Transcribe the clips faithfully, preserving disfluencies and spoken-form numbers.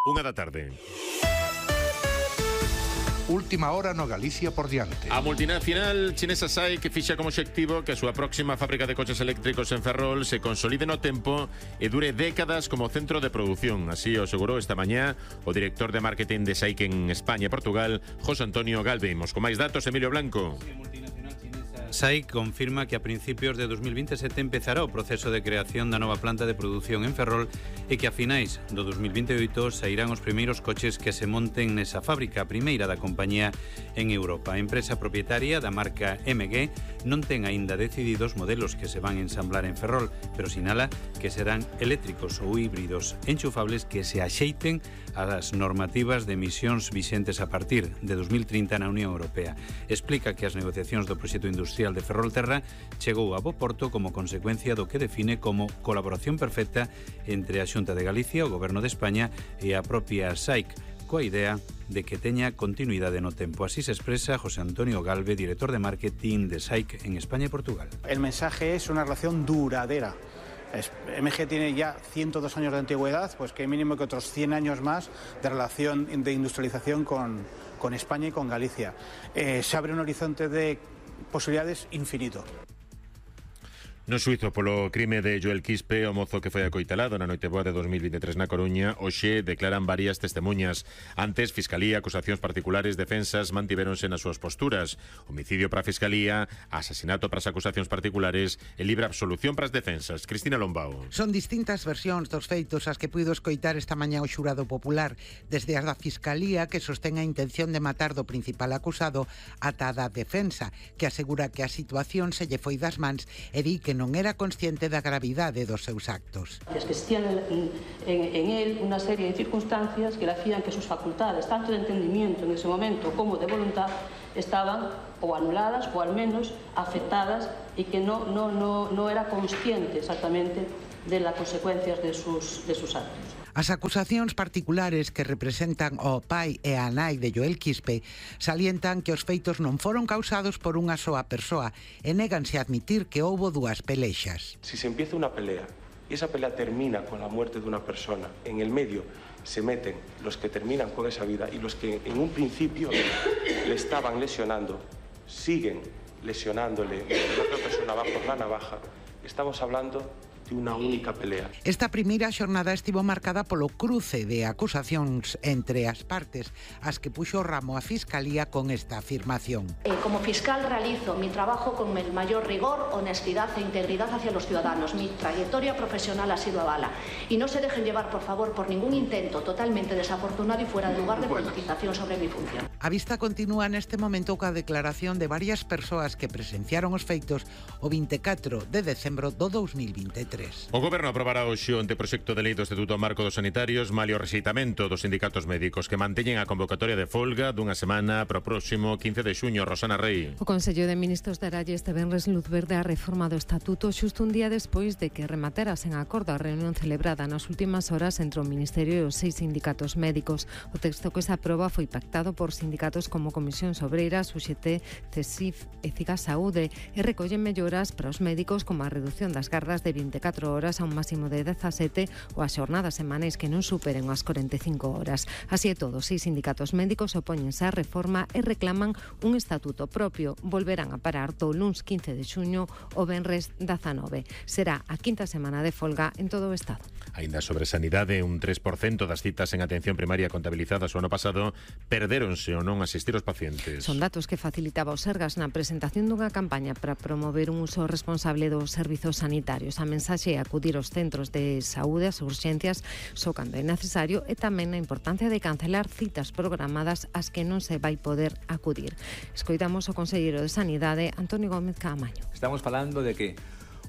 Unha da tarde. Última hora no Galicia por diante. A multinacional chinesa S A I que fixa como obxectivo que a súa próxima fábrica de coches eléctricos en Ferrol se consolide no tempo e dure décadas como centro de produción. Así o asegurou esta mañá o director de marketing de S A I en España e Portugal, José Antonio Galve. Imos con máis datos, Emilio Blanco. S A I confirma que a principios de dos mil veintisiete empezará o proceso de creación da nova planta de produción en Ferrol e que a finais do dos mil veintioito sairán os primeiros coches que se monten nesa fábrica, a primeira da compañía en Europa. A empresa propietaria da marca M G non ten aínda decididos modelos que se van a ensamblar en Ferrol, pero sinala que serán eléctricos ou híbridos enchufables que se axeiten ás normativas de emisións vixentes a partir de dos mil trinta na Unión Europea. Explica que as negociacións do proxecto industrial de Ferrolterra chegou a bo porto como consecuencia do que define como colaboración perfecta entre a Xunta de Galicia, o Goberno de España e a propia S A I C, coa idea de que teña continuidade no tempo. Así se expresa José Antonio Galve, director de marketing de S A I C en España y Portugal. El mensaje es una relación duradera. M G tiene ya ciento dos años de antigüedad, pues que mínimo que otros cien años más de relación de industrialización con, con España y con Galicia. Eh, se abre un horizonte de posibilidades infinito. No xuizo polo crime de Joel Quispe, o mozo que foi acoitalado na noite boa de dos mil veintitrés na Coruña, hoxe declaran varias testemunhas. Antes, Fiscalía, acusacións particulares, defensas mantiveronse nas súas posturas. Homicidio para a Fiscalía, asasinato para as acusacións particulares e libre absolución para as defensas. Cristina Lombao. Son distintas versións dos feitos as que puido escoitar esta mañá o xurado popular, desde as da Fiscalía, que sostén a intención de matar do principal acusado, ata a da defensa, que asegura que a situación se lle foi das mans e di que non era consciente da gravidade dos seus actos. Existían en, en, en él una serie de circunstancias que le hacían que sus facultades, tanto de entendimiento en ese momento como de voluntad, estaban o anuladas o al menos afectadas y que no, no, no, no era consciente exactamente de las consecuencias de sus, de sus actos. As acusacións particulares que representan o pai e a nai de Joel Quispe salientan que os feitos non foron causados por unha soa persoa e néganse a admitir que houbo dúas pelexas. Si se empieza una pelea y esa pelea termina con la muerte de una persona, en el medio se meten los que terminan con esa vida y los que en un principio le estaban lesionando, siguen lesionándole, la otra persona va por la navaja, estamos hablando de unha única pelea. Esta primeira xornada estivo marcada polo cruce de acusacións entre as partes, as que puxo ramo a Fiscalía con esta afirmación. Eh, como fiscal realizo mi trabajo con el mayor rigor, honestidad e integridad hacia los ciudadanos. Mi trayectoria profesional ha sido avala. Y no se dejen llevar, por favor, por ningún intento totalmente desafortunado y fuera de lugar de politización sobre mi función. A vista continúa neste momento coa declaración de varias persoas que presenciaron os feitos o veinticuatro de decembro do dos mil veintitrés. O Goberno aprobará hoxe o anteproxecto de lei do Estatuto Marco dos Sanitarios malia o rexeitamento dos sindicatos médicos que manteñen a convocatoria de folga dunha semana para o próximo quince de xuño. Rosana Rei. O Consello de Ministros daralle este venres luz verde á reforma do Estatuto xusto un día despois de que rematera sen acordo a reunión celebrada nas últimas horas entre o Ministerio e os seis sindicatos médicos. O texto que se aproba foi pactado por sindicatos como Comisións Obreiras, U X T, CESIF e Ciga Saúde e recollen melloras para os médicos como a reducción das gardas de veinticuatro horas a un máximo de dezasete ou as xornadas semanais que non superen as corenta e cinco horas. Así é todo, seis sindicatos médicos opóñense á reforma e reclaman un estatuto propio. Volverán a parar do luns quince de xuño o venres dezanove. Será a quinta semana de folga en todo o Estado. Aínda sobre sanidade, un tres por cento das citas en atención primaria contabilizadas o ano pasado perdéronse ou non asistir os pacientes. Son datos que facilitaba o Sergas na presentación dunha campaña para promover un uso responsable dos servizos sanitarios. A mensaxe é acudir aos centros de saúde, as urxencias, só cando é necesario, e tamén a importancia de cancelar citas programadas ás que non se vai poder acudir. Escoitamos o conselleiro de Sanidade, Antonio Gómez Caamaño. Estamos falando de que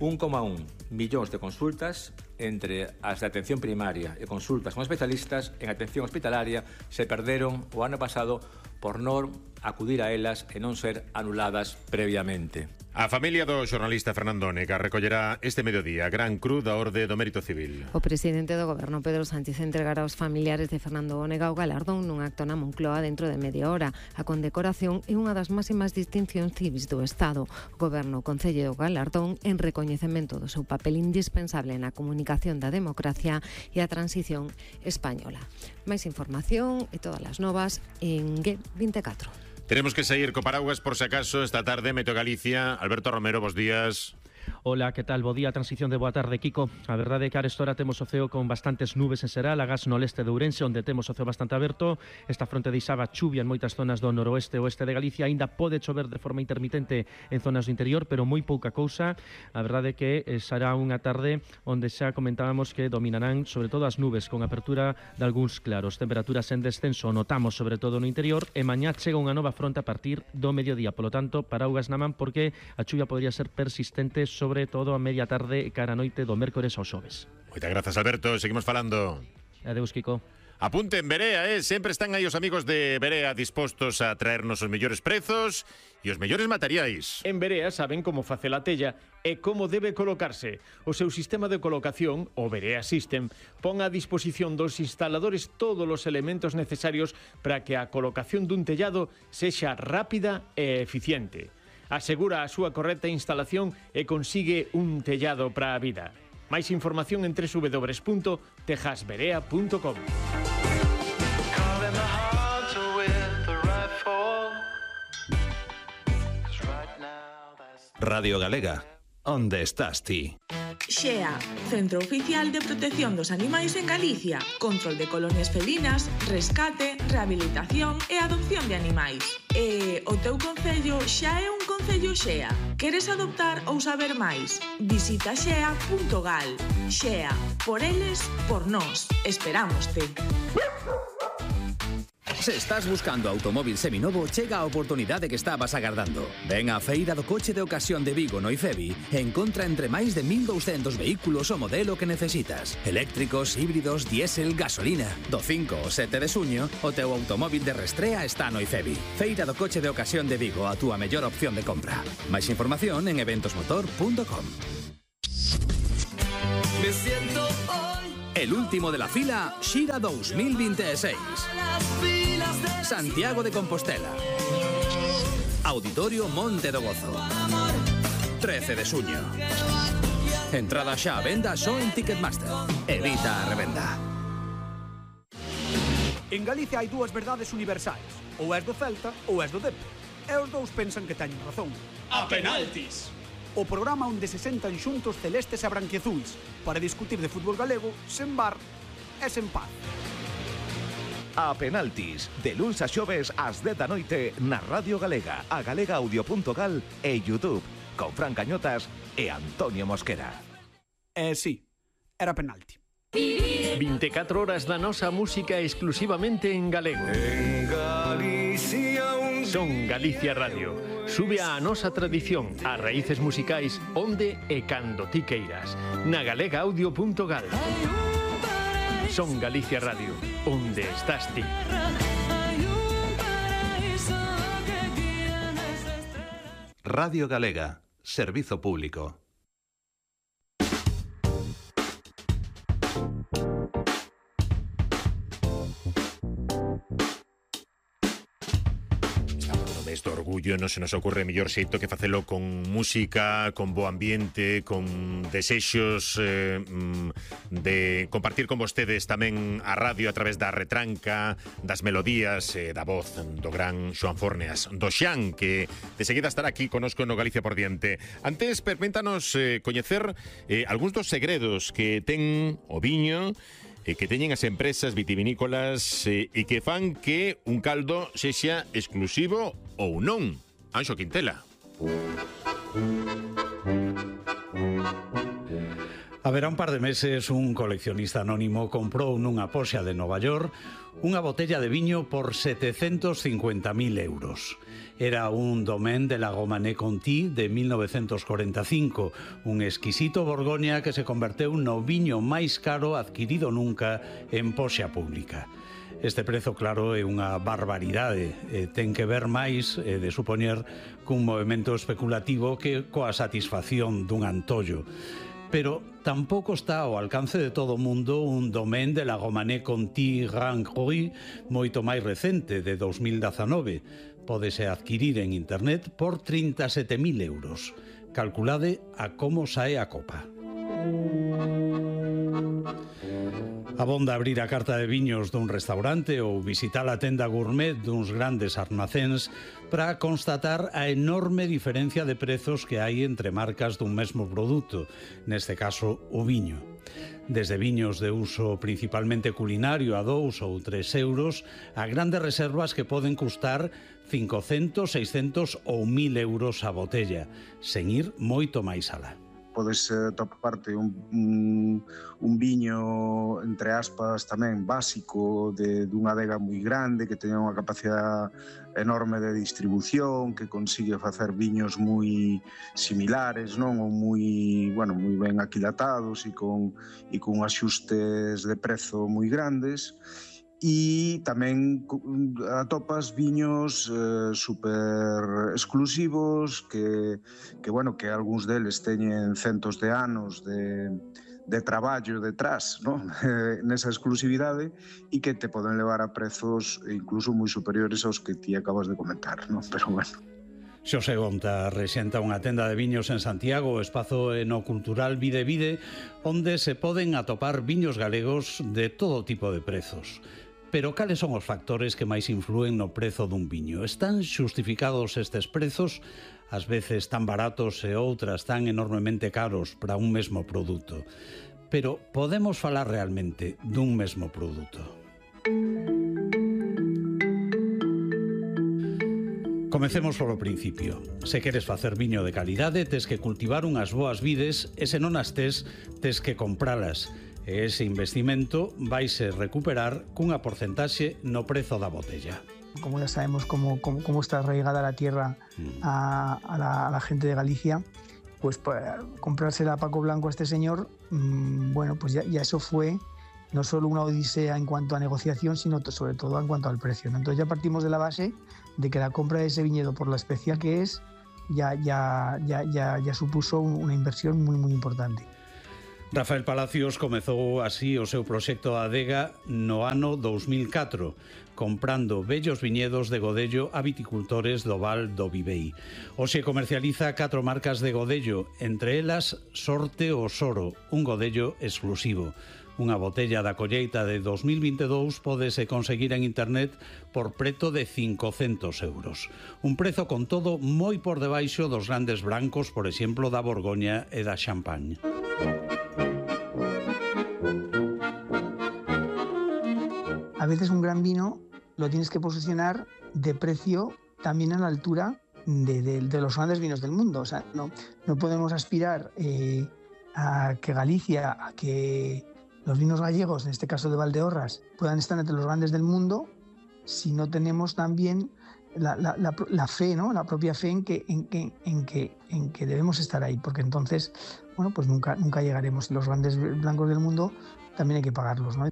un coma un millóns de consultas entre as de atención primaria e consultas con especialistas en atención hospitalaria se perderon o ano pasado por non acudir a elas e non ser anuladas previamente. A familia do xornalista Fernando Onega recollerá este mediodía a Gran Cruz da Orde do Mérito Civil. O presidente do Goberno, Pedro Sánchez, entregará aos familiares de Fernando Onega o galardón nun acto na Moncloa dentro de media hora. A condecoración é unha das máximas distincións civis do Estado. O Goberno concelle o galardón en recoñecemento do seu papel indispensable na comunicación reivindicación da democracia e a transición española. Máis información e todas as novas en G veinticuatro. Tenemos que sair co paraguas por si acaso esta tarde. Meteo Galicia. Alberto Romero, bos días. Ola, que tal? Bo día, transición de boa tarde, Kiko. A verdade é que a esta hora temos o ceo con bastantes nubes en Seral, agás no leste de Ourense, onde temos o ceo bastante aberto. Esta fronte deixaba chuvia en moitas zonas do noroeste e oeste de Galicia. Ainda pode chover de forma intermitente en zonas do interior, pero moi pouca cousa. A verdade é que será unha tarde onde xa comentábamos que dominarán sobre todo as nubes, con apertura de algúns claros. Temperaturas en descenso notamos sobre todo no interior, e mañá chega unha nova fronte a partir do mediodía. Polo tanto, paraugas na man, porque a chuvia podría ser persistente sobre todo a media tarde e cara a noite do mércores ao xoves. Moitas grazas, Alberto. Seguimos falando. Adeus, Kiko. Apunten Berea, eh? Sempre están aí os amigos de Berea dispostos a traernos os mellores prezos e os mellores materiais. En Berea saben como facer a tella e como debe colocarse. O seu sistema de colocación, o Berea System, pon a disposición dos instaladores todos os elementos necesarios para que a colocación dun tellado sexa rápida e eficiente. Asegura a súa correcta instalación e consigue un tellado para a vida. Máis información en doble u doble u doble u punto tejasberea punto com. Radio Galega, onde estás ti? Xea, Centro Oficial de Protección dos Animais en Galicia. Control de colonias felinas, rescate, rehabilitación e adopción de animais. E o teu concello xa é un concello Xea. Queres adoptar ou saber máis? Visita xea punto gal. Xea, por eles, por nós. Esperámoste. Se estás buscando automóvil seminovo, chega a oportunidade que estabas agardando. Ven á Feira do Coche de Ocasión de Vigo no IFEBI e encontra entre máis de mil douscentos vehículos o modelo que necesitas. Eléctricos, híbridos, diésel, gasolina. Do cinco ao sete de suño, o teu automóvil de restrea está no IFEBI. Feira do Coche de Ocasión de Vigo, a túa mellor opción de compra. Máis información en eventos motor punto com. Me siento hoy El último de la fila, Xira dos mil veintiséis. Santiago de Compostela. Auditorio Monte do Gozo. trece de suño. Entrada xa a venda só en Ticketmaster. Evita a revenda. En Galicia hai dúas verdades universais. Ou és do Celta ou és do Depor. E os dous pensan que teñen razón. A penaltis. O programa onde se sentan xuntos celestes e branquiazuis para discutir de fútbol galego sen bar e sen paz. A penaltis, de luns a xoves ás dez da noite na Radio Galega, a galega audio punto gal e YouTube, con Fran Cañotas e Antonio Mosquera. Eh, sí, era penalti. veinticuatro horas da nosa música exclusivamente en galego. En Galicia un Son Galicia Radio. Sube a nosa tradición, as raíces musicais onde e cando ti queiras. Na galega audio punto gal. Son Galicia Radio, onde estás ti. Radio Galega, servizo público. Este orgullo non se nos ocorre mellor xeito que facelo con música, con bo ambiente, con desexos eh, de compartir con vostedes tamén a radio a través da retranca, das melodías e eh, da voz do gran Xoan Forneas, do Xan, que de seguida estará aquí conosco no Galicia por diante. Antes, permítanos eh, coñecer eh, algúns dos segredos que ten o viño e que teñen as empresas vitivinícolas e, e que fan que un caldo sexa exclusivo ou non. Anxo Quintela. Haberá un par de meses un coleccionista anónimo comprou nunha poxa de Nova York unha botella de viño por setecentos cincuenta mil euros. Era un Domaine de la Romanée Conti de mil novecientos cuarenta e cinco, un exquisito Borgoña que se converteu no viño máis caro adquirido nunca en poxa pública. Este prezo, claro, é unha barbaridade, e ten que ver máis, eh, de supoñer, cun movimento especulativo que coa satisfacción dun antollo. Pero tampouco está ao alcance de todo o mundo un Domaine de la Romanée Conti Grand Cru moito máis recente, de dos mil dezanove. Pódese adquirir en internet por trinta e sete mil euros. Calculade a como sae a copa. Abonda abrir a carta de viños dun restaurante ou visitar a tenda gourmet duns grandes armacéns para constatar a enorme diferencia de prezos que hai entre marcas dun mesmo produto, neste caso o viño. Desde viños de uso principalmente culinario a dous ou tres euros a grandes reservas que poden custar cincocentos, seiscentos ou mil euros a botella, sen ir moito máis alá. Podes eh, toparte un, un, un viño, entre aspas, tamén básico, de dunha adega moi grande, que teña unha capacidade enorme de distribución, que consigue facer viños moi similares, non? Ou moi, bueno, moi ben aquilatados e con, e con axustes de prezo moi grandes. E tamén atopas viños eh, super exclusivos que, que, bueno, que algúns deles teñen centos de anos de, de traballo detrás, ¿no? Nesa exclusividade e que te poden levar a prezos incluso moi superiores aos que ti acabas de comentar, ¿no? Pero bueno. Xosé Gonta rexenta unha tenda de viños en Santiago, o espazo enocultural Vide Vide, onde se poden atopar viños galegos de todo tipo de prezos. Pero cales son os factores que máis influen no prezo dun viño? Están xustificados estes prezos, ás veces tan baratos e outras tan enormemente caros para un mesmo produto? Pero podemos falar realmente dun mesmo produto? Comecemos polo principio. Se queres facer viño de calidade, tes que cultivar unhas boas vides e se non as tes, tes que compralas. E ese investimento vaise recuperar cunha porcentaxe no prezo da botella. Como ya sabemos cómo, cómo, cómo está arraigada la tierra a, a, la, a la gente de Galicia, pues para comprársela a Paco Blanco a este señor, mmm, bueno, pues ya, ya eso fue no solo una odisea en cuanto a negociación, sino sobre todo en cuanto al precio, ¿no? Entonces ya partimos de la base de que la compra de ese viñedo, por la especial que es, ya, ya, ya, ya, ya supuso una inversión muy, muy importante. Rafael Palacios comezou así o seu proxecto Adega no ano dous mil catro, comprando vellos viñedos de Godello a viticultores do Val do Vivei. Hoxe comercializa catro marcas de Godello, entre elas Sorte o Soro, un Godello exclusivo. Unha botella da colleita de dos mil vinte e dous pódese conseguir en internet por preto de cincocentos euros. Un prezo con todo moi por debaixo dos grandes brancos, por exemplo, da Borgoña e da Champagne. A veces un gran vino lo tienes que posicionar de precio también a la altura de, de, de los grandes vinos del mundo. O sea, no, no podemos aspirar eh, a que Galicia, a que los vinos gallegos, en este caso de Valdeorras, puedan estar entre los grandes del mundo si no tenemos también la, la, la, la fe, ¿no? La propia fe en que, en, que, en, que, en que debemos estar ahí, porque entonces, bueno, pues nunca, nunca llegaremos. Los grandes blancos del mundo también hay que pagarlos, ¿no?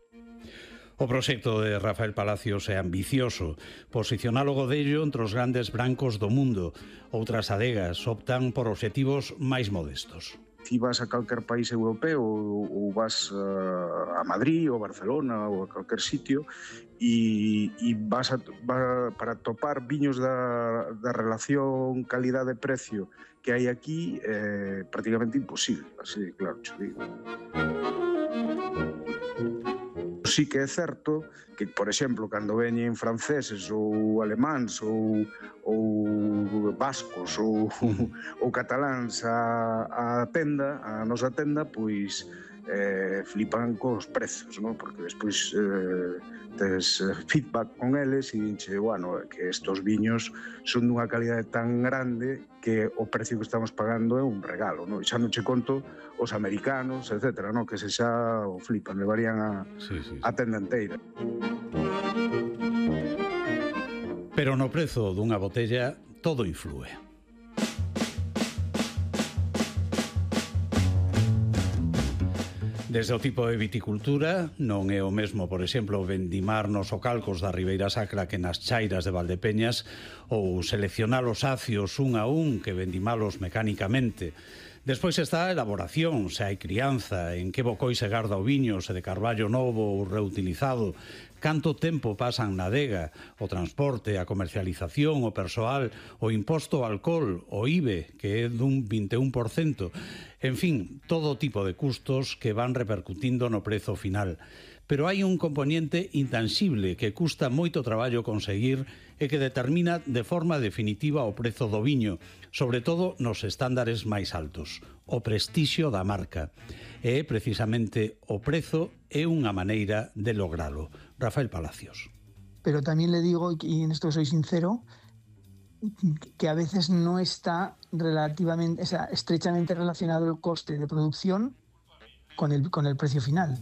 O proxecto de Rafael Palacios é ambicioso, posicionar o Godello entre os grandes brancos do mundo. Outras adegas optan por obxectivos máis modestos. Si vas a calquer país europeo ou vas a Madrid ou Barcelona ou a calquer sitio e, e vas, a, vas para topar viños da, da relación calidade-precio que hai aquí é prácticamente imposible, así, claro, xo digo. Sí que é certo que, por exemplo, cando veñen franceses ou alemáns ou, ou vascos ou, ou cataláns a, a tenda, a nosa tenda, pois eh, flipan cos prezos, ¿no? Porque despois eh, tes feedback con eles e dinche, bueno, que estos viños son dunha calidade tan grande que o precio que estamos pagando é un regalo, ¿no? E xa non che conto os americanos, etcétera, ¿no? Que se xa o flipan, levarían a, sí, sí, sí. a tenda inteira. Pero no prezo dunha botella todo influe. Desde o tipo de viticultura, non é o mesmo, por exemplo, vendimar nos ocalcos da Ribeira Sacra que nas chairas de Valdepeñas ou seleccionar os acios un a un que vendimalos mecánicamente. Despois está a elaboración, se hai crianza, en que bocoi se garda o viño, se de carballo novo ou reutilizado, canto tempo pasan na adega, o transporte, a comercialización, o persoal, o imposto ao alcohol, o I V E, que é dun vinte e un por cento. En fin, todo tipo de custos que van repercutindo no prezo final. Pero hai un componente intangible que custa moito traballo conseguir e que determina de forma definitiva o prezo do viño, sobre todo nos estándares máis altos, o prestixio da marca. E precisamente o prezo é unha maneira de logralo. Rafael Palacios. Pero también le digo, y en esto soy sincero, que a veces no está relativamente, o sea, estrechamente relacionado el coste de producción con el, con el precio final.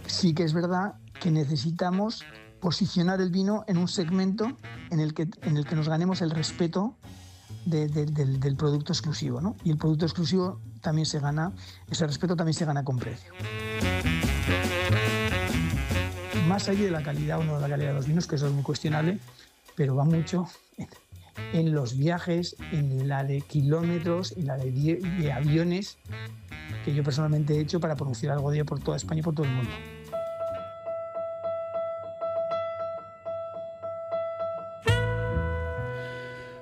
Sí que es verdad que necesitamos posicionar el vino en un segmento en el que, en el que nos ganemos el respeto de, de, del, del producto exclusivo, ¿no? Y el producto exclusivo también se gana, ese respeto también se gana con precio. Más allá de la calidad o no de la calidad de los vinos, que eso es muy cuestionable, pero va mucho en, en los viajes, en la de kilómetros, en la de, de aviones que yo personalmente he hecho para producir algo de por toda España y por todo el mundo.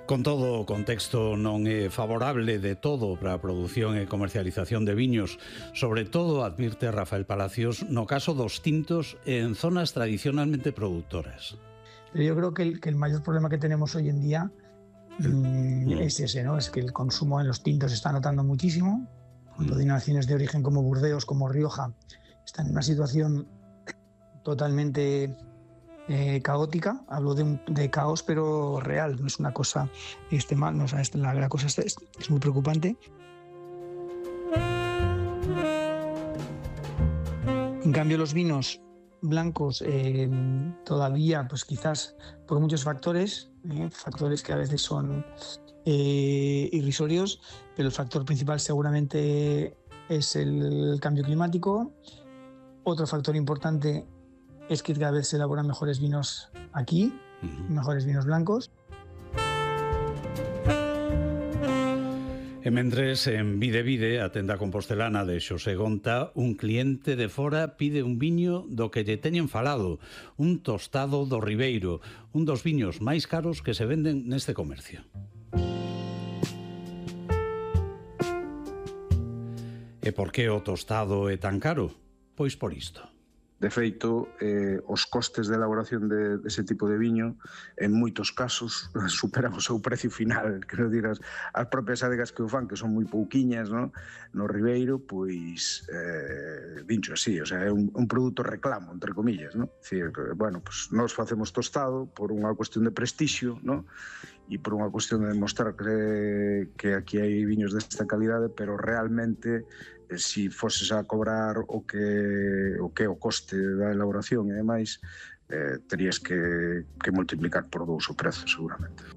Con todo, o contexto non é favorable de todo para a produción e comercialización de viños. Sobre todo, advirte Rafael Palacios, no caso dos tintos en zonas tradicionalmente productoras. Pero yo creo que el, que el mayor problema que tenemos hoy en día mmm, es ese, ¿no? Es que el consumo en los tintos se está notando muchísimo. Cuando denominaciones de origen como Burdeos, como Rioja, están en una situación totalmente Eh, caótica. Hablo de, un, de caos, pero real, no es una cosa este mal, no, o sea, este, la, la cosa es, es muy preocupante. En cambio, los vinos blancos eh, todavía, pues quizás por muchos factores, eh, factores que a veces son eh, irrisorios, pero el factor principal seguramente es el cambio climático. Otro factor importante es que cada vez se elaboran mejores vinos aquí, uh-huh. mejores vinos blancos. E mentres, en Vide Vide, a tenda compostelana de Xosé Gonta, un cliente de fora pide un viño do que lle teñen falado, un tostado do Ribeiro, un dos viños máis caros que se venden neste comercio. E por que o tostado é tan caro? Pois por isto. De feito, eh, os costes de elaboración de, dese tipo de viño en moitos casos superan o seu precio final. Quero dir, as, as propias adegas que o fan, que son moi pouquiñas, no, no Ribeiro, pois eh, dincho así, o sea, é un, un produto reclamo, entre comillas, no? Dicir, bueno, pues nós facemos tostado por unha cuestión de prestixio, no? E por unha cuestión de demostrar que, que aquí hai viños desta calidade, pero realmente si foses a cobrar o que o que o coste da elaboración e demais, eh, terías que, que multiplicar por dous o prezo, seguramente.